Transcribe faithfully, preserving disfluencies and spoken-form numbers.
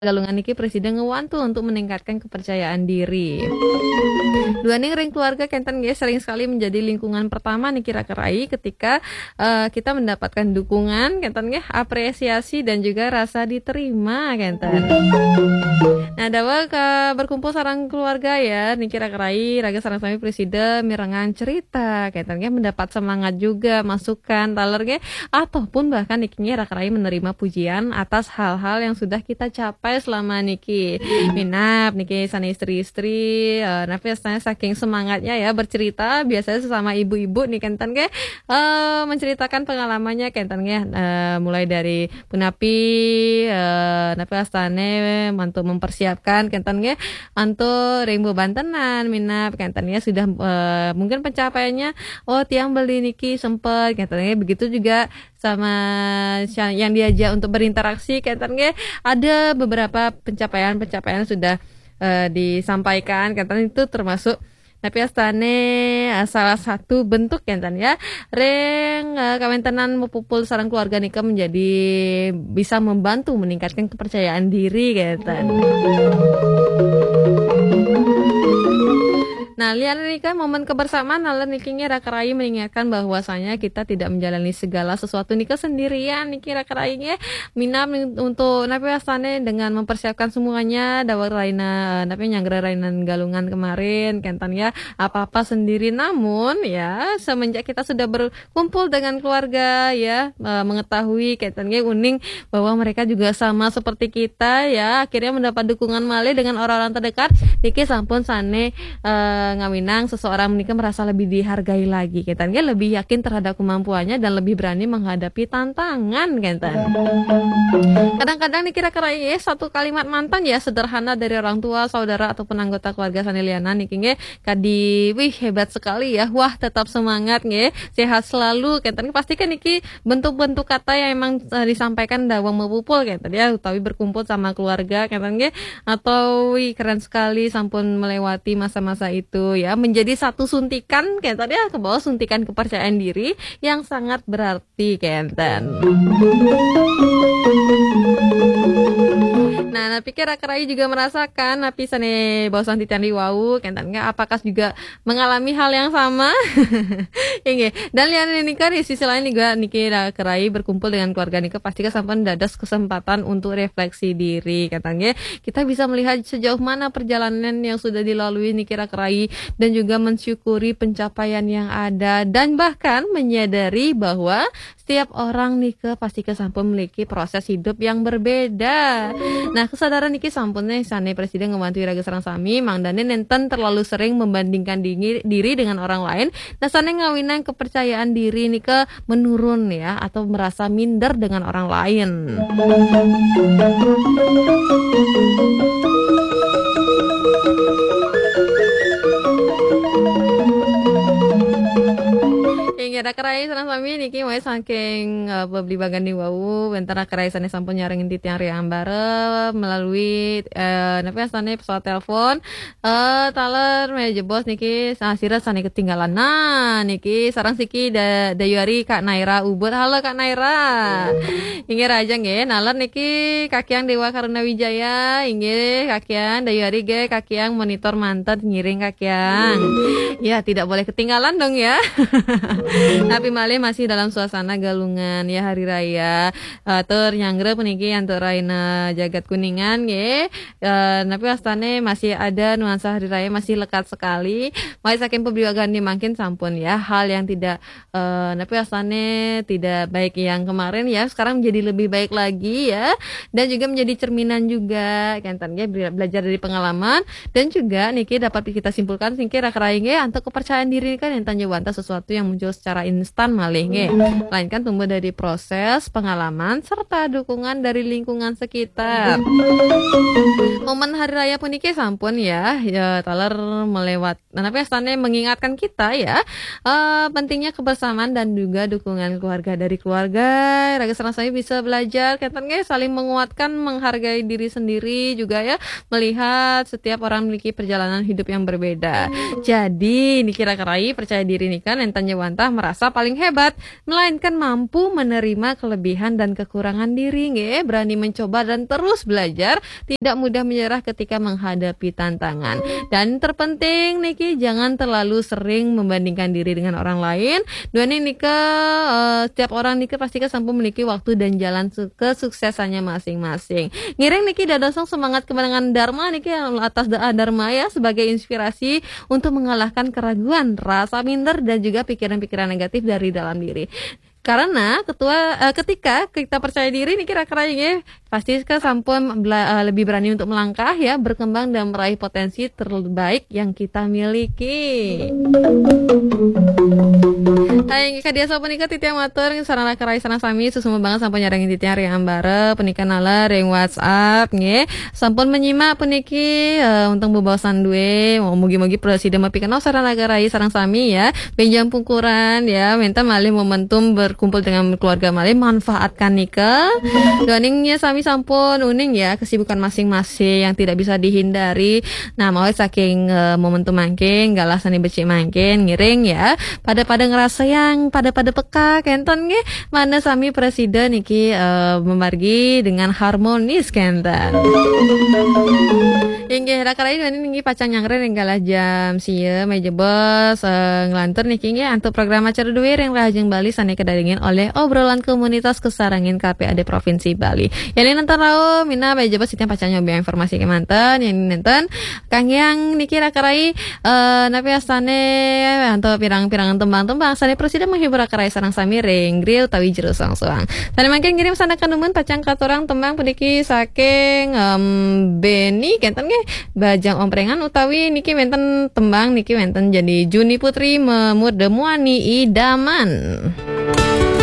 Galungan niki presida ngewantu untuk meningkatkan kepercayaan diri. Duaning ring keluarga kenten nggih sering sekali menjadi lingkungan pertama niki raka rai ketika eh, kita mendapatkan dukungan kenten nggih, apresiasi dan juga rasa diterima kenten. Nah, daweg eh, berkumpul sareng keluarga ya, niki raka rai, raga sareng sami presida mirengang cerita kenten nggih, mendapat semangat juga, masukan, taler nggih, ataupun bahkan niki nggih raka rai menerima pujian atas hal-hal yang sudah kita capai selama niki. Minab niki sane istri-istri, eh, napi rasanya saking semangatnya ya bercerita, biasanya sesama ibu-ibu nih kenten nggih, eh, menceritakan pengalamannya kenten nggih, eh, mulai dari punapi, eh, napi rasane untuk mempersiapkan kenten nggih, antuk ring bebantenan, minab kenten nggih sudah, eh, mungkin pencapaiannya, oh tiang beli niki sempet kenten nggih, begitu juga sama sya- yang diajak untuk berinteraksi kenten nggih, ada beberapa pencapaian-pencapaian sudah eh, disampaikan kenten itu termasuk napi astane eh, salah satu bentuk kenten ya, ring eh, kawentenan mepupul sareng keluarga nika menjadi bisa membantu meningkatkan kepercayaan diri kenten. Nah, lian nika momen kebersamaan, naler niki nggih raka rai mengingatkan bahwasanya kita tidak menjalani segala sesuatu nika sendirian niki raka rai nggih. Minab nih untuk napi astane dengan mempersiapkan semuanya, daweg raina, napi nyanggra rainan galungan kemarin kenten ya, apa-apa sendiri. Namun ya, semenjak kita sudah berkumpul dengan keluarga ya, eh, mengetahui kenten nggih uning bahwa mereka juga sama seperti kita ya, akhirnya mendapat dukungan malih dengan orang-orang terdekat, niki sampun sane eh, ngawinang seseorang menika merasa lebih dihargai lagi kenten nggih, lebih yakin terhadap kemampuannya dan lebih berani menghadapi tantangan kenten. Kadang-kadang niki raka rai nggih, satu kalimat mantan ya, sederhana dari orang tua, saudara ataupun anggota keluarga sane lianan niki nggih kadi, wih hebat sekali ya, wah tetap semangat nggih, sehat selalu kenten. Pasti kan niki bentuk-bentuk kata yang emang eh, disampaikan daweg mepupul kenten ya, utawi berkumpul sama keluarga kenten nggih, atau wih keren sekali sampun melewati masa-masa itu ya, menjadi satu suntikan kenten ya, ke bawah suntikan kepercayaan diri yang sangat berarti kenten. Nah, napi ke raka rai juga merasakan napi sane baosan titiang ri wau kenten nggih, apakah juga mengalami hal yang sama? Inggih. Dan lian nika di sisi lain juga niki raka rai berkumpul dengan keluarga nika pasti sampun dados kesempatan untuk refleksi diri kenten nggih. Kita bisa melihat sejauh mana perjalanan yang sudah dilalui niki raka rai dan juga mensyukuri pencapaian yang ada dan bahkan menyadari bahwa setiap orang nika pasti sampun memiliki proses hidup yang berbeda. Nah, kesadaran niki sampun nih sane presida ngewantu raga sareng sami, mangdane nenten terlalu sering membandingkan diri, diri dengan orang lain. Nah, sane ngawinang kepercayaan diri nika menurun ya, atau merasa minder dengan orang lain. Inggih, raka rai sareng sami niki mulai saking eh, beblibagan ri wau, wenten raka rai sane sampun nyarengin titiang ri ambara melalui eh, napi astane pesawat telepon. Eh, taler menawi jebos niki sa- sira sane ketinggalan. Nah, niki sareng siki da, dayuari Kak Naira Ubud. Halo Kak Naira. Inggih raja nggih, naler niki Kakiang Dewa Karuna Wijaya, inggih Kakiang dayuari nggih Kakiang monitor manten ngiring Kakiang. Ya, tidak boleh ketinggalan dong ya. Tapi malih masih dalam suasana galungan ya hari raya. Eh, tur nyanggra puniki antuk raina jagat Kuningan nggih. Eh, napi astane masih ada nuansa hari raya, masih lekat sekali. Mulai saking beblibagan ri mangkin sampun ya, hal yang tidak eh, napi astane tidak baik yang kemarin ya, sekarang menjadi lebih baik lagi ya, dan juga menjadi cerminan juga kenten nggih, bela- belajar dari pengalaman dan juga niki dapat kita simpulkan niki raka rai nggih, antuk kepercayaan diri kan yang tanya wantah sesuatu yang muncul secara instan malih nggih, melainkan tumbuh dari proses pengalaman serta dukungan dari lingkungan sekitar. Momen hari raya puniki sampun ya, ya taler melewat. Nah, tapi astane mengingatkan kita ya, eh, pentingnya kebersamaan dan juga dukungan keluarga dari keluarga. Raga sareng sami bisa belajar, kenten nggih, saling menguatkan, menghargai diri sendiri juga ya, melihat setiap orang memiliki perjalanan hidup yang berbeda. Jadi, niki raka rai percaya diri nika nenten wantah merasa paling hebat, melainkan mampu menerima kelebihan dan kekurangan diri, nggih, berani mencoba dan terus belajar, tidak mudah menyerah ketika menghadapi tantangan. Dan terpenting niki, jangan terlalu sering membandingkan diri dengan orang lain. Duaning nika, eh, setiap orang nika pasti kan sampun memiliki waktu dan jalan su-, kesuksesannya masing-masing. Ngiring niki dadosang semangat kemenangan Dharma niki, atas doa Dharma ya, sebagai inspirasi untuk mengalahkan keraguan, rasa minder, dan juga pikiran-pikiran negatif dari dalam diri. Karena ketua, eh, ketika kita percaya diri niki, Raka Rai, nggih, pasti kan sampun bela-, eh, lebih berani untuk melangkah ya, berkembang dan meraih potensi terbaik yang kita miliki. Hai, nggih, kadiasa punika titiang matur sareng Raka Rai sareng sami, suksma banget sampun nyarengin titiang ring ambara punika, naler ring WhatsApp, nggih. Sampun menyimak puniki, eh, untung bebaosan duwe. Mugi-mugi prasida mapikenoh sareng Raka Rai sareng sami ya. Benjang pungkuran ya, wenten malih momentum berkumpul dengan keluarga malih, manfaatkan nika. Duaning ya sami sampun uning ya, kesibukan masing-masing yang tidak bisa dihindari. Nah, mawit saking, eh, momentum mangkin, galah sane becik mangkin, ngiring ya, pada-pada ngrasayang, pada-pada peka kenten nggih, mangda sami prasida niki, eh, memargi dengan harmonis kenten. Inggih, Raka Rai duaning niki pacang nyanggra ring galah jam sia, malih jebos, eh, nglantur niki nggih antuk program acara duwe ring Rahajeng Bali sane kadagingin olih Obrolan Komunitas Kasarengin K P A D Provinsi Bali. Yen nenten rauh, minab malih jebos titiang pacang nyobiahang informasi kemanten, yen nenten kanggiang niki Raka Rai, eh, napi astane antuk pirang-pirang tembang-tembang sane prasida menghibur Raka Rai sareng sami ring griya utawi jero soang-soang. Sane mangkin ngiring sandekan numun pacang katurang tembang puniki saking, em, Beni kenten nggih, Bajang Omprengan, utawi niki wenten tembang niki wenten jani Juni Putri, Memurda Muani Idaman.